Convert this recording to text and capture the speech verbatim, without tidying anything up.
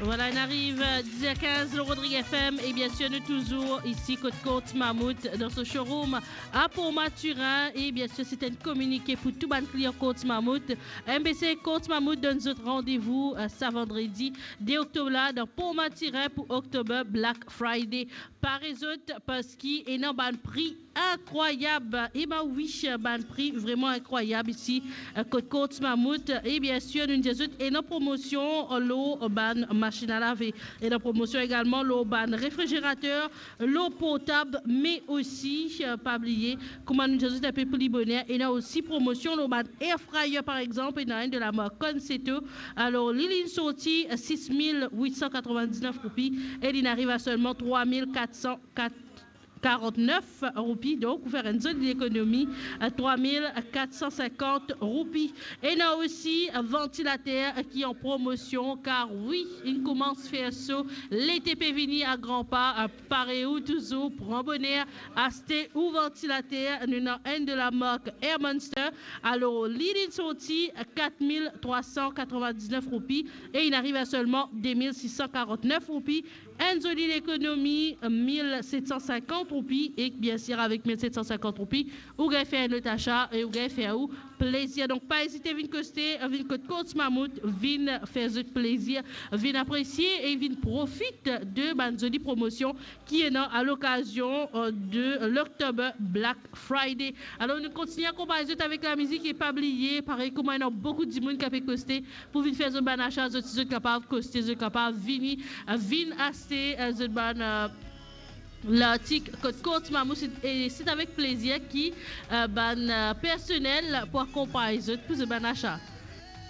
Vwala, inn ariv diz er kinz lor Rodrig F M, e bien sir nou touzour isi kot Courts Mammouth dan so showroom a Port Mathurin, e bien sir se enn kominike pou tou bann klian Courts Mammouth. M B C Courts Mammouth donn zot randevou, eh, sa vandredi de oktob la dan Port Mathurin pou October Black Friday. Pare zot, parski ena bann pri inkrwayab. E ba wi, bann pri vreman inkrwayab isi, eh, kot Courts Mammouth. E bien sir, nou dir zot ena promosion lor bann masinn a lave, ena promosion egalman lor bann refrizerater, lor portab, me osi, eh, pa bliye, kouma nou dir zot enpe pli boner, ena osi promosion lor bann air fryer, par exanp, ena enn de la mark Conceto. Alor, li, li'nn sorti sis mil wit san katrovin-diznef roupi e li'nn ariv a selman trwa mil kat san karant-nef roupi, donk ou fer enn zoli lekonomi, eh, trwa mil kat san sinkant roupi. Ena osi vantilater ki an promosion, kar wi, inn koumans fer so, lete pe vini a gran pa, eh, pare ou touzour, pran boner, aste ou vantilater. Nou ena enn de la mark Air Monster, alor li, li'nn sorti kat mil trwa san katrovin-diznef roupi e inn ariv a selman de mil sis san karant-nef roupi. Enn zoli lekonomi, mil set san sinkant roupi, e bien sir, avek mil set san sinkant roupi, ou gagn fer enn lot asa e ou gagn fer ou plezir. Donk, pa ezite, vinn koste, vinn kot Courts Mammouth, vinn fer zot plezir, vinn apresie e vinn profit de bann zoli promosion ki ena a lokazion, eh, de l'October Black Friday. Alor, nou kontigne akonpagn zot avek lamizik e pa bliye, parey kouma ena boukou dimoun ki ape koste pou vinn fer zot bann asa, zot, zot kapav koste, zot kapav vini, eh, vinn aste, eh, zot bann, eh, lartik kot Courts Mammouth, e se avek plezir ki, eh, bann, eh, personel pou akonpagn zot pou zot bann asa.